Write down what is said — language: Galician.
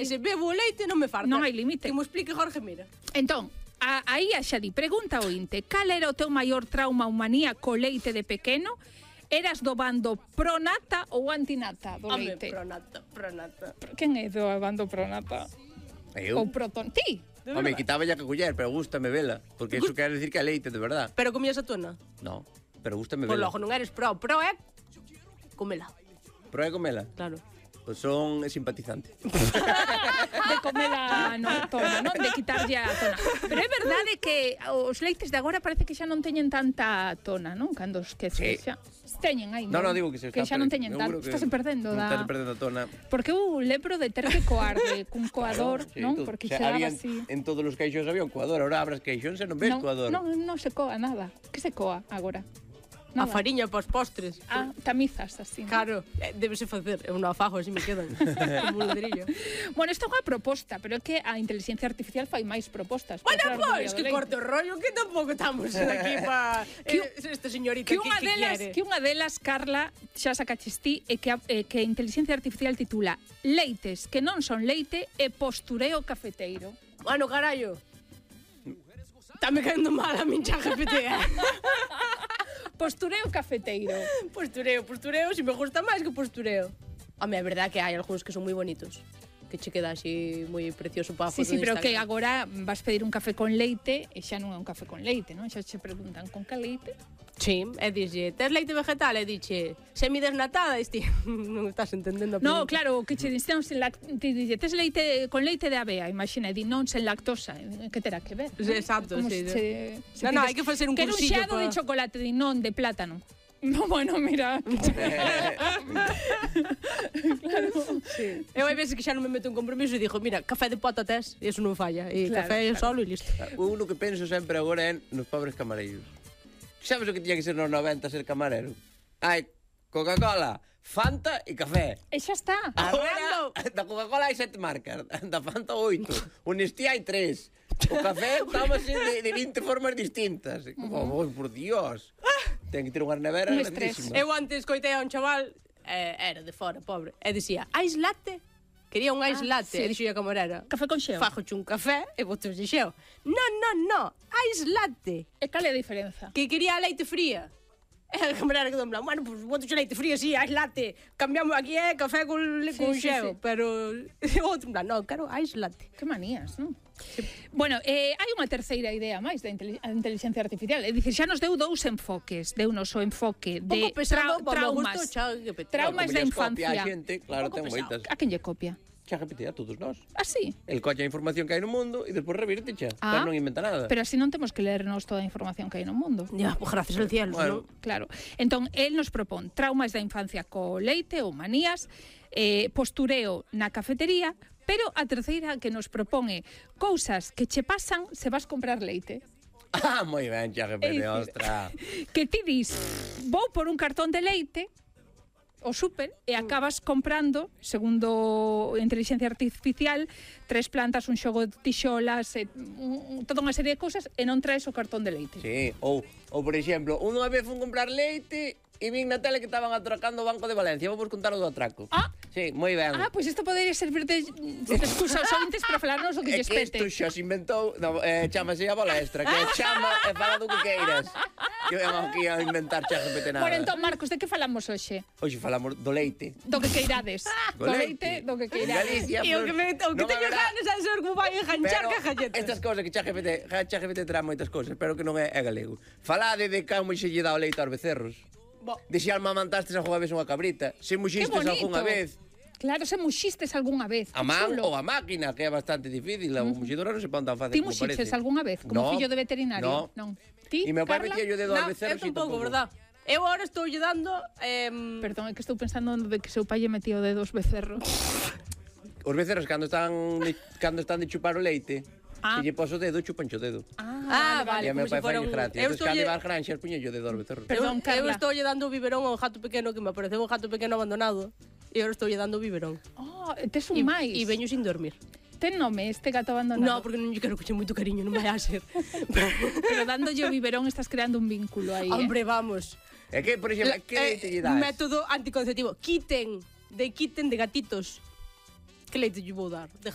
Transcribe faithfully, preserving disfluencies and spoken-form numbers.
Se bebo o leite non me farta. Non hai límite. Que mo explique Jorge Mira. Entón, a, aí a xa di, pregunta o inte, cal era o teu maior trauma ou manía co leite de pequeno? Eras do bando pronata ou antinata do Home, leite? pronata, pronata. Quen é do bando pronata? Eu? Ou proton? Ti? Home, quitaba ya que coller, pero gústame vela. Porque iso quere decir que é leite, de verdad. Pero comías a tona? No, pero gústame Pois vela. logo non eres pro, pro é comela. Pro é comela? Claro. Pois son simpatizante. De comela no tona, non? De quitarlle a tona. Pero é verdade que os leites de agora parece que xa non teñen tanta tona, non? Cando os que Sí. xa teñen aí, No, no, digo que se que está xa non teñen tanto. que Estás perdendo non da... Estás perdendo a tona. Porque eu lembro de ter que coar de cun coador, Sí, non? tú- Porque o sea, se daba había así. en todos os caixóns había un coador. Ahora abras caixóns e non ves Non, coador. non, non se coa nada. Que se coa agora? A Nada. fariña pos postres. Ah, tamizas así. ¿no? Claro, eh, débese facer. Eu non a fago, así me quedan. Como un ladrillo. Bueno, isto é unha proposta, pero é que a inteligencia artificial fai máis propostas. Bueno, Para falar do pois, día do que leite. corte o rollo, que tampouco estamos aquí pa... Que- eh, esta señorita Que que, unha que delas, quiere. que unha delas, Carla, xa sacaches ti, e que a, eh, que a inteligencia artificial titula Leites que non son leite e postureo cafeteiro. Bueno, carallo. Está me caendo mal a min xa G P T, eh? Postureo cafeteiro. Postureo, postureo, si me gusta máis que postureo. Home, é verdad que hai algúns que son moi bonitos. Que che queda así moi precioso para a Sí, foto sí, de pero que Instagram. agora vas pedir un café con leite e xa non é un café con leite, non? Xa che preguntan con que leite? Sí, e dixe, tes leite vegetal? E dixe, semidesnatada? E ti, non estás entendendo a No, pregunta. claro, que che dixen sen lactosa, ti dixe, tes leite con leite de avea, imagina, e di non sen lactosa, que terá que ver? Sí, exacto, Como sí, se, sí. se No, no, pides, hai que facer un quero cursillo un xeado pa- de chocolate, di non, de plátano. No, bueno, mira. Claro. Sí. Eu hai veces que xa non me meto en compromiso e dixo, mira, café de pota tes, e eso non falla. E Claro, café claro. solo e listo. O uno que penso sempre agora é nos pobres camareiros. Sabes o que tiña que ser nos noventa ser camarero? Hai Coca-Cola, Fanta e café. E xa está. Agora, da Coca-Cola hai sete marcas, da Fanta oito, o Nestlé hai tres. O café tómase de, de vinte formas distintas. Como, oh, por Dios. Ten que ter unha nevera Un estrés. grandísima. Eu antes coitei a un chaval, eh, era de fora, pobre, e dicía, ice latte? Quería un ice Ah, latte, sí. e dixo a camarera, Café con xeo. fajoche un café e botoche xeo. Non, non, non, ice latte. E cal é a diferenza? Que quería a leite fría. E a camarera quedou en plan, bueno, pues botoche leite fría, sí, ice latte. Cambiamos aquí, é eh, café con, Sí, con sí, xeo. sí. Pero o outro en plan, non, quero ice latte. Que manías, non? Bueno, eh, hai unha terceira idea máis da inteli- a inteligencia artificial. É dicir, xa nos deu dous enfoques. Deunos o enfoque Un de pouco pesado, tra- para o traumas. gusto, ChatGPT. Traumas Como da lles copia infancia. a xente, claro, Un pouco ten pesado. moitas. A quen lle copia? Xa repetirá todos nós. Ah, sí? El colla a información que hai no mundo e despois revirte xa, Ah, pero non inventa nada. Pero así non temos que lernos toda a información que hai no mundo. Ya, pues gracias al cielo, Bueno. ¿no? Claro. Entón, el nos propón traumas da infancia co leite ou manías, eh, postureo na cafetería, pero a terceira que nos propone cousas que che pasan se vas comprar leite. Ah, moi ben, xa É repete, dicir, ostra. Que ti dis, vou por un cartón de leite o súper e acabas comprando, segundo a inteligencia artificial, tres plantas, un xogo de tixolas, e, un, toda unha serie de cousas e non traes o cartón de leite. Sí, ou, ou por exemplo, unha vez fun comprar leite e vin na tele que estaban atracando o Banco de Valencia. Vou vos contar o do atraco. Ah. Sí, moi ben. Ah, pois pues isto podería servir de, de excusa aos ouvintes para falarnos o que É lles que pete. isto xa se inventou, no, eh, chamase a balestra, que chama e fala do que queiras. Que vengo aquí a inventar xa repete nada. Bueno, entón, Marcos, de que falamos hoxe? Hoxe falamos do leite. Do que queirades. Do Do leite. leite, do que En queirades. Galicia, E o pues, que, me, o que non teño haberá- ganas é saber como vai enganchar Pero que galletas. estas cousas que ChatGPT, ChatGPT terá moitas cousas, pero que non é, é galego. Falade de como xe lle dá o leite aos becerros. Bo. De se almamantastes algunha vez unha cabrita, se muxistes bonito. algunha vez Claro, se muxistes algunha vez. a que man chulo. ou a máquina, que é bastante difícil, a muxidora non se pon tan fácil Ti como muxiches parece. algunha vez, como No, fillo de veterinario? No. Non. Ti, E meu pai Carla? metía yo dedo No, aos becerros eu e tampouco, verdad? Eu agora estou lle dando... Eh, Perdón, é que estou pensando de que seu pai lle metía o dedo aos becerros. Os becerros cando están de, cando están de chupar o leite, Ah. se lle pos o dedo, chupan o dedo. Ah, vale, E a meu como se pai fora fai un... gracia. Eu Entón, estou cando lle... iba ás granxas, puño yo o dedo aos becerros. Perdón, eu, Carla. eu estou lle dando o biberón ao gato pequeno, que me apareceu un gato pequeno abandonado, e eu estou lle dando o biberón. Oh, tes un E, máis. e veño sin dormir. Ten nome este gato abandonado? No, porque non lle quero coche moito cariño, non vai a ser. Pero dándolle o biberón estás creando un vínculo aí, Hombre, vamos. É que, por exemplo, La- que leite lle das? Método anticonceptivo. Quiten, de quiten de gatitos. Que leite lle vou dar? De